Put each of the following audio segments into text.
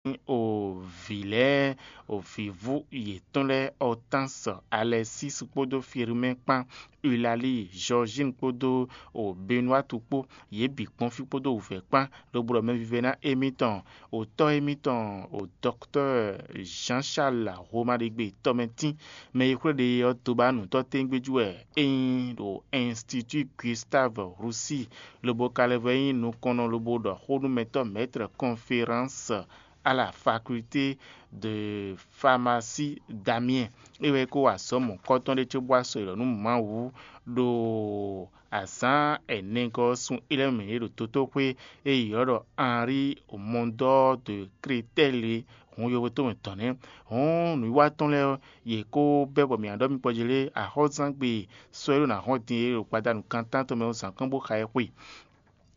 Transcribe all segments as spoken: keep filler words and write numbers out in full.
o vǐ lɛ́ɛ, o vǐvú yětɔn lɛ́ɛ, Hortense, Alexis kpódó Firmin kpán, Eulalie, Georgine kpódó o Benoîte kpó, yě bǐ kpɔ́n fí kpódó wǔvɛ́ kpán, lobo ɖɔ mɛvívɛ́ná émítɔn, o tɔ́ émítɔn, o docteur Jean-Charles Romaɖegbe tɔmɛtín, mɛ e xwlé ɖe ɔ́ dó ba nǔtɔ́ téwúngbéjú wɛ é nyí ɖo Institut Gustave Roussy, lobo ka lɛ́ vɔ nyí nukɔnnɔ lobo ɖɔ xó nú mɛtɔ́ Maître Conférence à la Faculté de Pharmacie d'Amiens. É wɛ é kó wa azɔ̌ mɔ̌kɔ́tɔn ɖé cóbó wá sɔ́ yi ɖɔ nú Mawu ɖo azǎn ɛnɛgɔ́ ɔ́ sun élɔ́ mǐ ɖe ɖo dotóxwé e è ylɔ́ ɖɔ Henri Mondor de Créteil é, hǔn yovo tɔn mɛ tɔn nɛ́. Hǔn nǔwiwa tɔn lɛ́ɛ ɔ́, yě kó bɛ́ bɔ mǐ ná ɖɔ mì kpɔ́ jí lé, axɔ́zán gbe sɔ́ e ɖo ná hɔn din é ɖo gbadanu kan tántɔn mɛ ɔ́ zǎn kɔn bó xa ɛ xwe.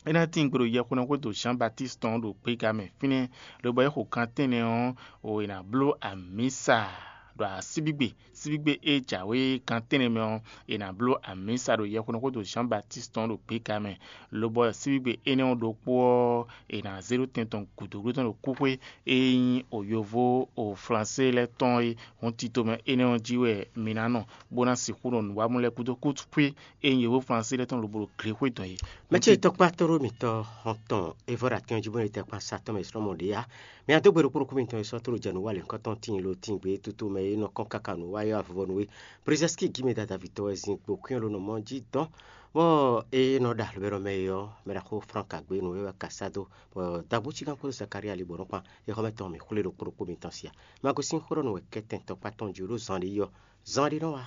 É ná tín gbe ɖo yɛhweɖɔxwé do Jean Baptiste tɔn ɖo gbéga mɛ fínɛ́, lobɔ é xo gan tɛ́nnɛ ɔ́, o è nǎ bló amǐsa ɖo asíbígbe síbígbe e jǎwe gan tɛ́nnɛ mɛ ɔ́, è nǎ bló amǐsa ɖo yɛhweɖɔxwé do Jean Baptiste tɔn ɖo gbéga mɛ, lobɔ síbígbe énɛ́ ɔ́ ɖokpó ɔ́, è nǎ zé ɖó tɛn tɔn gǔdo tɔn ɖo kúxwé e nyí o yovo o Flansé lɛ́ɛ tɔn é. Hǔn tito mɛ énɛ́ ɔ́ jí wɛ mi ná nɔ, bó ná sixú nɔ nǔwamú lɛ́ɛ gúdo kútúkwé e nyí yovo Flansé lɛ́ɛ tɔn lobo ɖo glexwé dɔn é. Mɛ ce tɔkpá tóɖó mǐtɔn hɔn tɔn é vɔ ɖo atɛn jí bó ɖo tɛkpan sa tɔn mɛ slɔ́ mɔ ɖě á. Mɛ a dó gbe ɖokpó ɖokpó mitɔn e sɔ́ tóɖó jɛ nǔ wa lěhunkɔtɔn tíin lo tíin gbé tútú mɛ e nɔ kɔn káka nǔ wa é avɔvɔ nú é. Brizɛ́ski gímɛ dada vǐtɔ́ wɛ zin kpo kwín ló nɔ mɔ jí dɔn, bɔ é nɔ ɖo alɔbɛ́nɔ mɛ é ɔ́, mɛ ɖaxó Frank Agbénu é wɛ ka sá dó, bɔ dagbo cígán kpódó Zakalía ali bɔ nɔ́ kpan é xɔ́mɛ tɔn mǐ xwlé ɖokpó ɖokpó mitɔn sia. Magosin xó ɖɔ nǔ wɛ kɛ́tɛn tɔkpá tɔn jí ɖó zan ɖé yi ɔ́, zan ɖé nɔ wá.